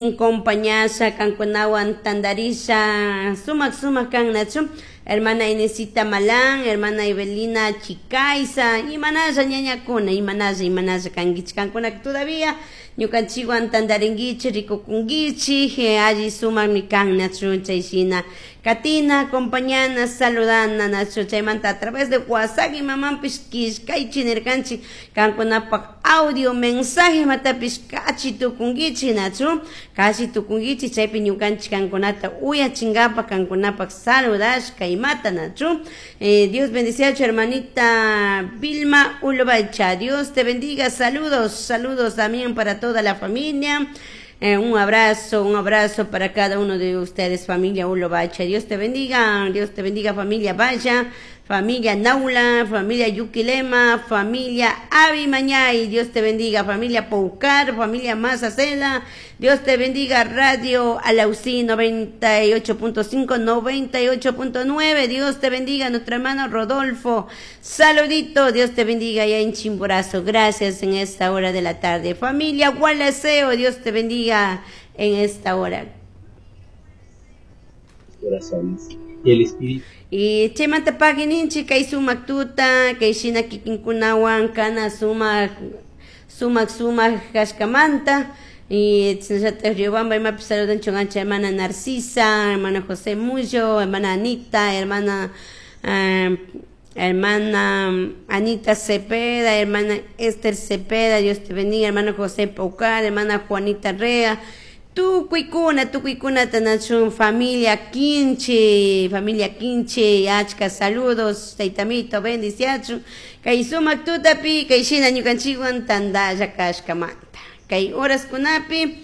Compañasha kankunawan tandarisha sumak sumak kan nachu hermana Inesita Malán, hermana Evelina Chicaiza, imanalla ñañakuna, imanalla, imanalla kankichik kankuna todavía ñukanchikwan tandarinkichik rikukunkichik, alli sumakmi kan nachu chay shina katina, acompañana, saludana nachu chaymanta a través de WhatsApp imamanpish killkaychik nirkanchik kankunapak audio mensaje imatapish kachi tukunkichik nachu kachi tukunkichik chaypi ñukanchik kankunata uyachinkapak kankunapak saludashka imata nachu. Dios bendiciachu hermanita Vilma Ulobacha, Dios te bendiga, saludos, saludos también para toda la familia. Un abrazo para cada uno de ustedes, familia Ulobacha. Dios te bendiga, familia Vaya, familia Naula, familia Yuquilema, familia Abimañay. Dios te bendiga, familia Poucar, familia Mazacela. Dios te bendiga, Radio Alausí 98.5, 98.9. Dios te bendiga, nuestro hermano Rodolfo. Saludito, Dios te bendiga allá en Chimborazo. Gracias en esta hora de la tarde. Familia Gualaceo, Dios te bendiga en esta hora. Corazones y el espíritu. Y chaymanta pagininchik kay sumak tuta, kay shina kikinkunawan kana sumak, sumak, sumak kashkamanta. Y chashnallata Riobamba imapish saludanchun ancha hermana Narcisa, hermana José Mullo, hermana Anita, hermana Anita Cepeda, hermana Esther Cepeda, Dios te bendiga, hermano José Paucar, hermana Juanita Rea, tukuykuna, tukuykunata nachun familia Quinche, achka saludos, taytamito, bendiciachun, kay sumak tutapi, kay shina ñukanchikwan tandalla kashkamanta. Kay horas kunapi,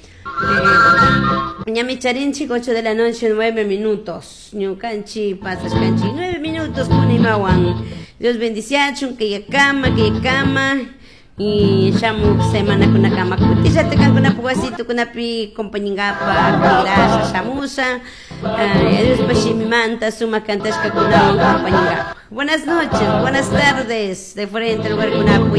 ñami charinchik 8 de la noche, 9 minutos. Ñukanchik pasashkanchik 9 minutos kunimawan. Dios bendiciachun, kayakama, kayakama. Y shamuk semana kunakama kutillata kankunapuk wasito kunapi compañingapa, gracias shamusha. Dios pashimimanta sumak cantashka kunawan compañingapa. Buenas noches, buenas tardes, de frente al lugar kunapu.